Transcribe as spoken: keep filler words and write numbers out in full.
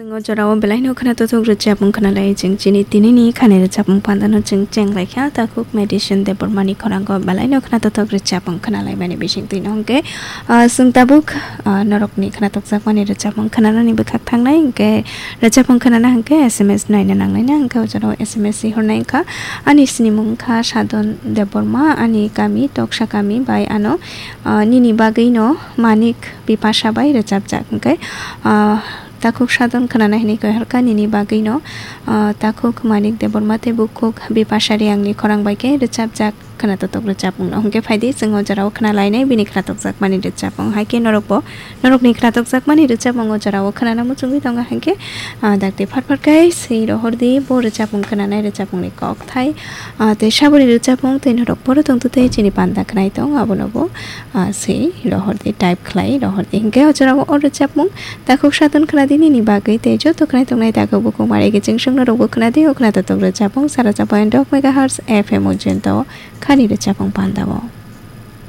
O jorao belaino khna tothok rwchapmung khna lai chwng chini tinini khani rwchapmung pandano chwng cheng lai kha, takhuk Medicine Debbarmani khorango belaino khna tothok rwchapmung khna lai mani bising twi no hwnkhe, ah, chwng tabuk, ah, norokni khna tokjakmani rwchapmung khnanani bwkhak thangnai hwnkhe rwchapmung khnana hwnkhe S M S naina nangnai na hwnkhe o jorao S M S si hornai wngkha ani sinimung wngkha Sadon Debbarma, ani kami Toksa kami bai ano, ah, nini bagwino Manik Bipasa bai rwchapjak hwnkhe, ah, takhuk Sadon khnana hinwi koi horkha nini bagwino, ah, takhuk Manik Debbarma tei bukhuk Bipasa Riyangni khorang bai khe rwchapjak khna totok rwchapmungno hwnkhe phaidi chwng o jorao khna lainai bini khna tokjakmani rwchapmung hai khe norokbo norokni khna tokjakmani rwchapmung o jorao khnana muchungwi tongo hwnkhe, ah, dakti phar phar khe swi rohordi bo rwchapmung khnanai rwchapmungni kok thai, ah, tei saboni rwchapmung tei norok boro tongtwtwi chini panda khnai tong abono bo, ah, swi rohordi type khlai rohordi hwnkhe o jorao o rwchapmung takhuk Sadon khnadi nini bagwi tei joto khnai tongnai takhuk bukhuk mare khe chwng songno rokbo khnadi o khna totok rwchapmung sara chapang dok megahertz F M o jento khani rwchapmung pandao.